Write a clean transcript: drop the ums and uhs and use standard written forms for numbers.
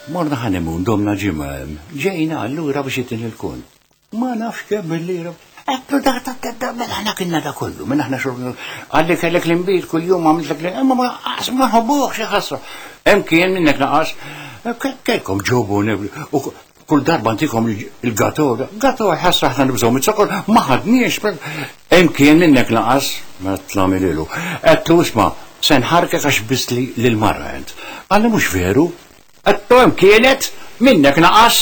Morna honeymoon domna ġimgħa hemm. Ġejna allura biex itini l-kont. Ma nafx kemm il-lira. Għedtlu da da da da mela aħna kienna da kollu, mela aħna xorb. Għalli kellek l-imbid kull-jum għamiltlek li, imma ma ma ħobbuħ xi ħasra. Hemm kien minnek naqas, kellkom ġobu u kull darba ntikom il-gato, gato ħasra aħna nibżgħu mit-sokol, ma ħadniex. Hemm kien minnek naqas, ma tlamililu. Għedtlu isma' se nħarkek għax biss li l-marra int. Għalli mhux veru. Għedtlu hemm kienet minnek naqas.